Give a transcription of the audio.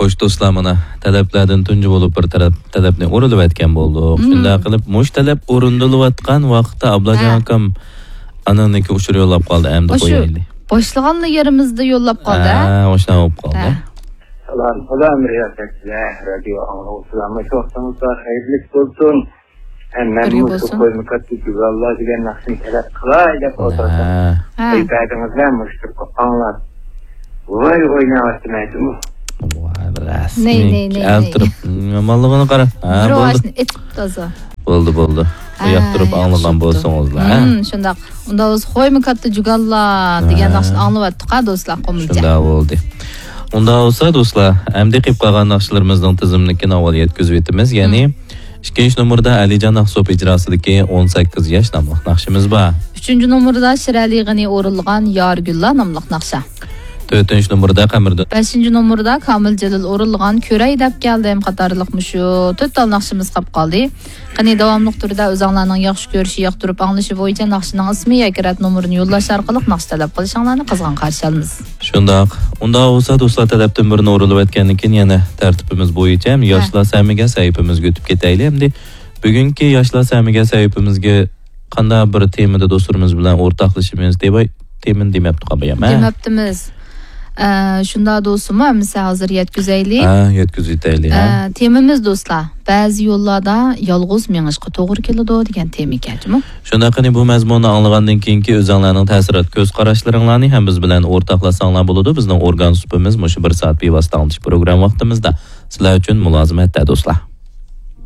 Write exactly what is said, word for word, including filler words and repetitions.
خوش دوستلار، مانا تەلەپلەردىن تۇنجى بولۇپ بىر تەلەپ، تەلەپنى ئورۇنلىۋەتكەن بولدۇق. مم. شۇنداق قىلىپ، مۇشۇ تەلەپ ئورۇندىلىۋاتقان ۋاقىتتا ئابلاجان ھە. ئاكام ئانىڭنىڭكى ئۇچۇر يوللاپ قالدى. ئەمدى قويايلى. باشلىغانلا يېرىمىزدە يوللاپ قالدى، ھە؟ ھە، ئاشۇنداق بولۇپ قالدى. ھە. سالام، سالام، رىياسەتچىلەر، رادىيو ئاڭلىغۇچىلار، مۇشۇ ۋاقتىڭىزلار خەيرلىك بولسۇن. ھەم مەن بىرگە مۇشۇ بولسۇن. قويما كاتتا جۇگاللا دېگەن ناخشىنى تەلەپ قىلاي دەپ ئولتۇرسام، ھە. ھە. ئەي بەردىڭىزلەر مۇشۇ تۇرۇپ ئاڭلاپ. ۋاي ئويناۋاتىمەن جۇمۇ. ۋاي، بىر رەسمىي نەي، نەي، نەي، ئەلتىرىپ، يامانلىقىنى قارا. ھە، بىر بولدى. ئاشنى ئېتىپ تازا. بولدى، بولدى. ھە، ياقتۇرۇپ ئاڭلىغان بولسىڭىزلا، ھە؟ ھىم، شۇنداق. ئۇندا بولسا قويما كاتتا جۇگاللا دېگەن ھە. ناخشىنى ئاڭلىۋاتتۇق ھە، دوستلار، قومۇلچە. شۇنداق بولدى. ئۇندا بولسا، دوستلار، ئەمدى قېلىپ قالغان ناخشىلىرىمىزنىڭ تىزىملىكىنى ئاۋۋال يەتكۈزۈۋېتىمىز. يەنى، ھىم. ئىككىنچى نومۇردا ئەلىجان ئاقسوپ ئىجراسىدىكى ئون سەككىز ياش ناملىق ناخشىمىز بار. ئۈچىنچى نومۇردا شىرئەلى غېنى ئورۇنلىغان يار گۈللا ناملىق ناخشا. تۆتىنچى نومۇردا قەمەردىن. بەشىنچى نومۇردا كامىل جېلىل ئورۇنلىغان كۆرەي دەپ كەلدىم قاتارلىق مۇشۇ تۆت تال ناخشىمىز قاپ قالدى. قېنى، داۋاملىق تۈردە ئۆزۈڭلارنىڭ ياخشى كۆرۈشى، ياقتۇرۇپ ئاڭلىشى بويىچە ناخشىنىڭ ئىسمى ياكى رەت نومۇرىنى يوللاش ئارقىلىق ناخشا تەلەپ قىلىشىڭلارنى قىزغىن قارشى ئالىمىز. شۇنداق. ئۇنداق بولسا، دوستلار، تەلەپتىن بىرنى ئورۇنلىۋەتكەندىن كېيىن يەنە تەرتىپىمىز بويىچە ھە. ياشلار سەھىپىمىزگە ئۆتۈپ كېتەيلى. ئەمدى بۈگۈنكى ياشلار سەھىپىمىزگە قانداق بىر تېمىدا دوستلىرىمىز بىلەن ئورتاقلىشىمىز دەپ، تېمىنى دېمەپتۇ قابىيام، ھە؟ دېمەپتىمىز. ئە، شۇنداق دوستۇم، ھەممىسى ھازىر يەتكۈزەيلى. ھە، يەتكۈزۈۋېتەيلى، ھە؟ ئە، تېمىمىز دوستلار، بەزى يوللاردا يالغۇز مېڭىشقا توغرا كېلىدۇ دېگەن تېما ئىكەن جۇمۇ. شۇنداق، قېنى بۇ مەزمۇننى ئاڭلىغاندىن كېيىنكى ئۆزۈڭلارنىڭ تەسىرات كۆز قاراشلىرىڭلارنى ھەم بىز بىلەن ئورتاقلاشساڭلار بولىدۇ. بىزنىڭ ئورگان سۇپىمىز مۇشۇ بىر سائەت بىۋاسىتە ئاڭلىتىش پروگرامما ۋاقتىمىزدا سىلەر ئۈچۈن مۇلازىمەتتە، دوستلار.